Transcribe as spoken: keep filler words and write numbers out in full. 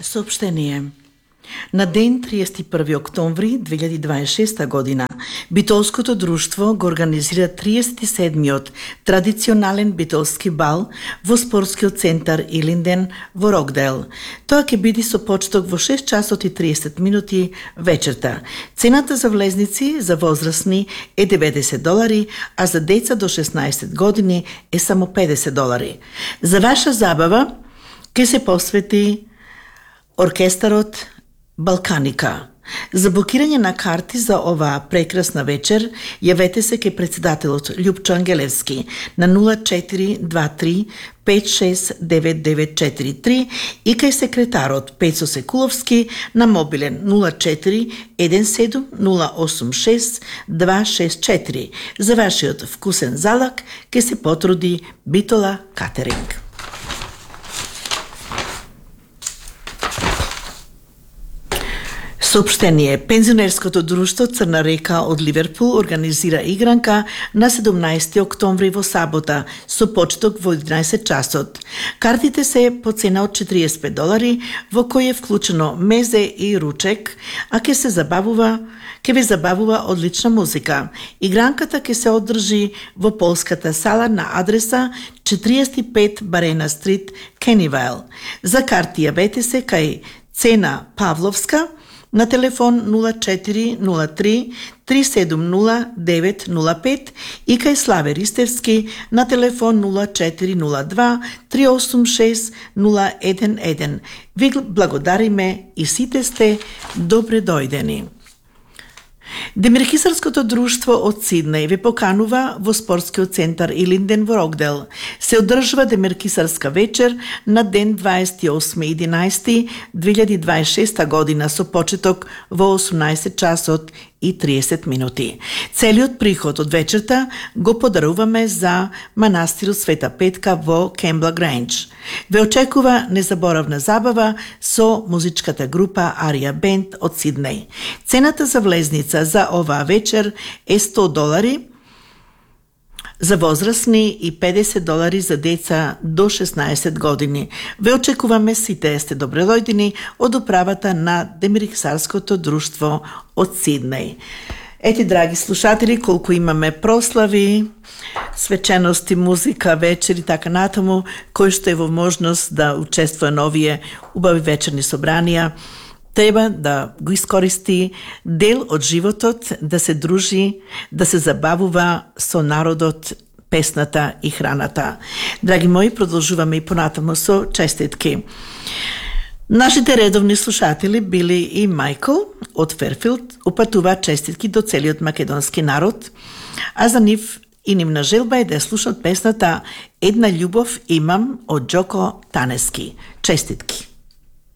Сообщение. На ден триесет и први октомври две илјади дваесет и шеста година Битолското друштво го организира триесет и седмиот традиционален битолски бал во спортскиот центар Илинден во Рокдейл. Тоа ќе биде со почеток во шест часот и триесет минути вечерта. Цената за влезници за возрастни е деветдесет долари, а за деца до шеснаесет години е само педесет долари. За ваша забава ќе се посвети оркестарот Балканика. За блокирање на карти за оваа прекрасна вечер, јавете се кај председателот Љупчо Ангелевски на нула четири два три пет шест девет девет четири три и кај секретарот Пецо Секуловски на мобилен нула четири еден седум нула осум шест два шест четири. За вашиот вкусен залак ке се потруди Битола Катеринг. Сообщение. Пензионерското друштво Црна река од Ливерпул организира игранка на седумнаесети октомври во сабота со почеток во единаесет часот. Картите се по цена од четириесет и пет долари, во кој е вклучено мезе и ручек, а ќе се забавува ќе ве забавува одлична музика. Игранката ќе се одржи во полската сала на адреса четириесет и пет Барена стрит, Кенивайл. За карти јавете се кај Цена Павловска на телефон нула четири нула три три седум нула девет нула пет и кај Славе Ристевски на телефон нула четири нула два три осум шест нула еден еден. Ви благодариме и сите сте добре дојдени. Демирхисарското друштво од Сиднеј ве поканува во спортскиот центар Илинден во Рокдейл. Се одржува Демирхисарска вечер на ден дваесет и осми единаесети две илјади дваесет и шеста година со почеток во осумнаесет часот и триесет минути. Целиот приход од вечерта го подаруваме за манастирот Света Петка во Кембла Грейндж. Ве очекува незаборавна забава со музичката група Арија Бенд од Сиднеј. Цената за влезница за оваа вечер е сто долари за возрастни и педесет долари за деца до шеснаесет години. Ве очекуваме сите сте добредојдени од управата на Демирхисарското друштво од Сиднеј. Ети, драги слушатели, колку имаме прослави, свечености, музика, вечери, така натаму, кој што е во можност да учествува на овие убави вечерни собранија, треба да го искористи дел од животот, да се дружи, да се забавува со народот, песната и храната. Драги мои, продолжуваме и понатаму со честитки. Нашите редовни слушатели били и Мајкл од Ферфилд, упатува честитки до целиот македонски народ, а за нив и нивна желба е да слушат песната Една љубов имам од Џоко Танески. Честитки.